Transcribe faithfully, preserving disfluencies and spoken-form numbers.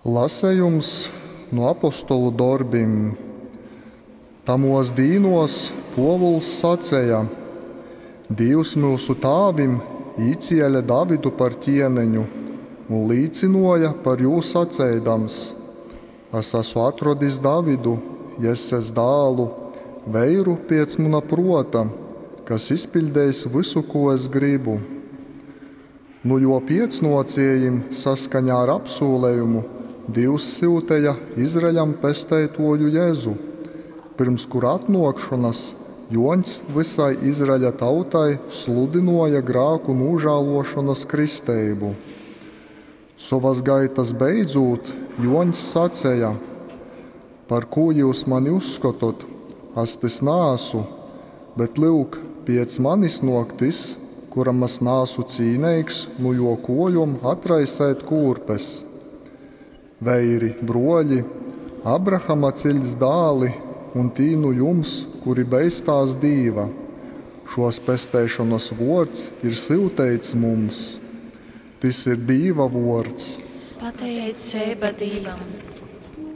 Lasejums nu apostolu dorbim. Tamuos dīnuos Puovuls saceja: Dīvs myusu tāvim īciele Davidu par ķieneņu un līcynuoja par jū saceidams: Es esmu atradis Davidu, Jesses dālu, veiru piec muna pruota, kas izpiļdeis vysu, ko es gribu. Nu juo piecnuociejim saskaņā ar apsūlejumu Dīvs syuteja Izraeļam pesteituoju Jēzu, pirms kura atnuokšonas Juoņs vysai Izraeļa tautai sludynuoja grāku nūžāluošonas kristeibu. Sovas gaitas beidzūt Juoņs saceja: Par kū jūs mani uzskotot, es tys naasu, bet lyuk, piec manis nuok tys, kuram es naasu cīneigs nu juo kuojom atraisēt kūrpes. Veiri, bruoļi, Abrahama ciļts dāli un tī nu jums, kuri beistās Dīva, šos pesteišonas vuords ir syuteits mums. Tys ir Dīva vuords. Pateiceiba Dīvam!